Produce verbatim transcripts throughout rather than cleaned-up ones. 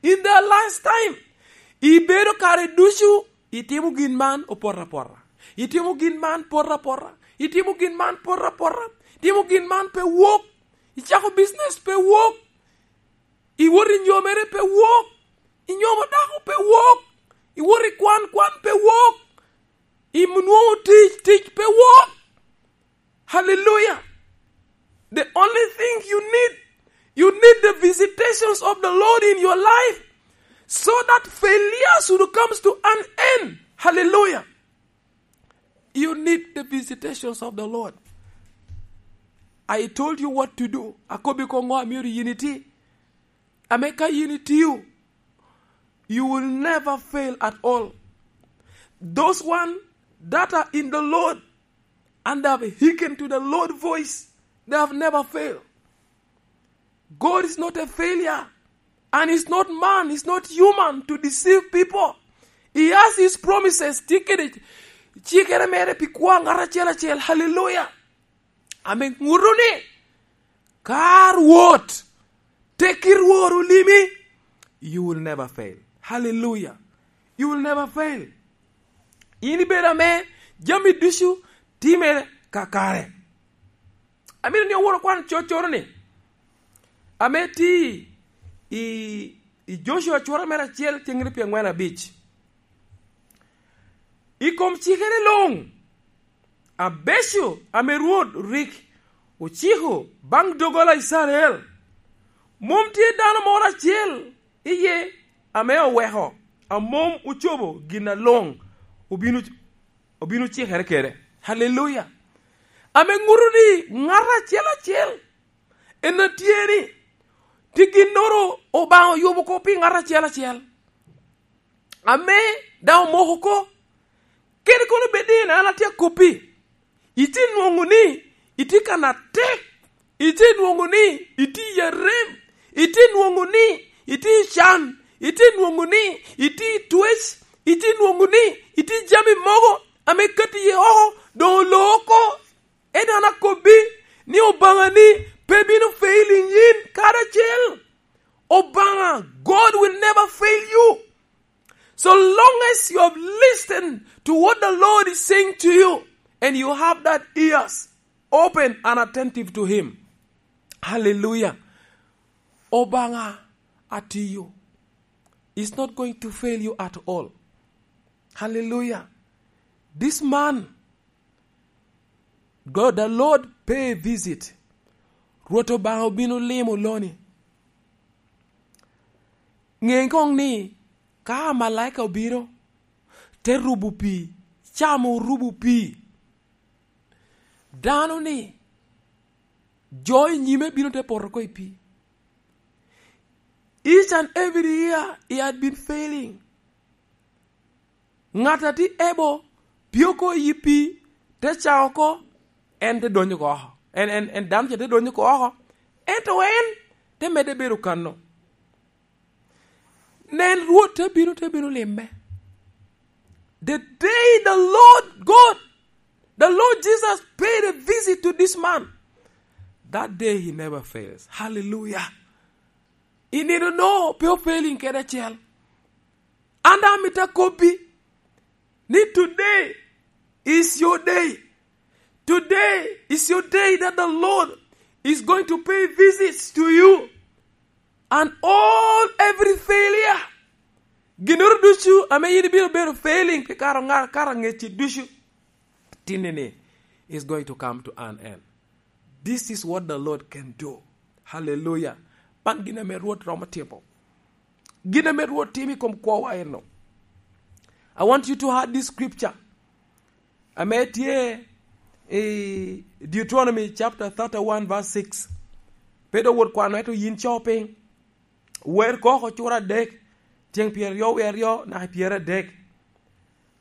In the last time, ibedo kare ducu, itimo gin man opoto apota. Itimo gin man poto apota. Itimo gin man poto apota. Itimo gin man pe wok. Icako business pe wok. Iwot i nyomere pe wok. Inyomo dako pe wok. Iwot i kwan, kwan pe wok. Inwoŋo tic, tic pe wok. Hallelujah. The only thing you need, you need the visitations of the Lord in your life so that failure should come to an end. Hallelujah. You need the visitations of the Lord. I told you what to do. Akobbi ko ŋo amyero yin iti. Ame ka yin itio, you will never fail at all. Those one that are in the Lord and have hearkened to the Lord voice, they have never failed. God is not a failure, and is not man, is not human to deceive people. He has his promises. Tye kede cikere mere pi kwo ŋat acel acel. Hallelujah. Ame ŋuto ni, ka Rwot, tekki Rwot olimi, you will never fail. Hallelujah. You will never fail. In ibedo ame jami ducu time kakare. Amito ni owor okwan coccoro ni, ame ti i, i Joshua cura mere acel cengere pi aŋwen abic. I kom cikere luŋ abeco ame Rwot rik ociko baŋ doggola Icrael, mom tye dano moro acel iye ame oweko a mom ocobo gin aloŋ obino, obino cikere kede. Haleluya! Ame ŋuto ni ŋat acel acel en a tye ni, ti ginnoro Obaŋa oyubo oko pi ŋat acel acel. Ame daŋ omoko oko. Kadi kono bed ni en an atye akoppi, itye nwoŋo ni itye kan atek, itye nwoŋo ni itye i arem, itye nwoŋo ni itye i can, itye nwoŋo ni itye i twec, itye nwoŋo ni itye i jami mogo ame kati iye oko, doŋ oloo oko. Ento an akobbi ni Obaŋa ni pe bino failing yin kadi acel. Obaŋa, God will never fail you. So long as you have listened to what the Lord is saying to you and you have that ears open and attentive to Him. Hallelujah. Obaŋa atiyo. Is not going to fail you at all. Hallelujah. This man, God, the Lord pay a visit. Rwot Obaŋa obino limo loni. Ŋe koŋ ni, ka amalaika obino, te rubo pii, camo orubo pii. Dano ni, jo i nyime bino te poto oko i pii. Each and every year, he had been failing. Ŋat a tye able pye oko i pii, te ca oko, en te donyo oko oko. En, en, en dano ca te donyo oko oko. Ento en te medde bedo kano. Nen, Rwot te bino, te bino limme. The day the Lord God, the Lord Jesus paid a visit to this man, that day he never fails. Hallelujah. I nino no, pe ofailing kede acel. An daŋ amito akobbi ni today is your day. Today is your day that the Lord is going to pay visits to you. And all, every failure, ginnoro ducu ame yin ibino bedo failing pi kara ŋa-, kara ŋecci ducu, tinni-ni is going to come to an end. This is what the Lord can do. Hallelujah. Man gin ame Rwot romo timo. Gin ame Rwot timo i kom kwowa eno. I want you to hear this scripture. Ame tye i Deuteronomy chapter thirty-one verse six. Pe dok wot kwano, ento yin co piny. Wer koko cura adek, tyeŋ pyeraryo wie aryo naka pyeraryo adek.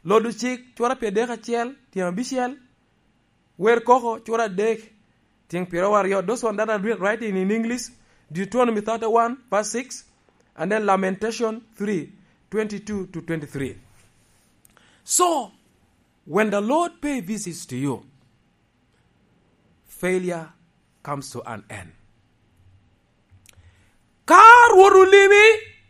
Lodo cik cura pyeradek acel, tyeŋ abicel. Wer koko cura adek, tyeŋ pyeraryo aryo. Those one that are writ-, writing in English, Deuteronomy thirty-one verse six, and then Lamentation three, twenty-two to twenty-three. So, when the Lord pay visits to you, failure comes to an end. Ka Rwot olimi,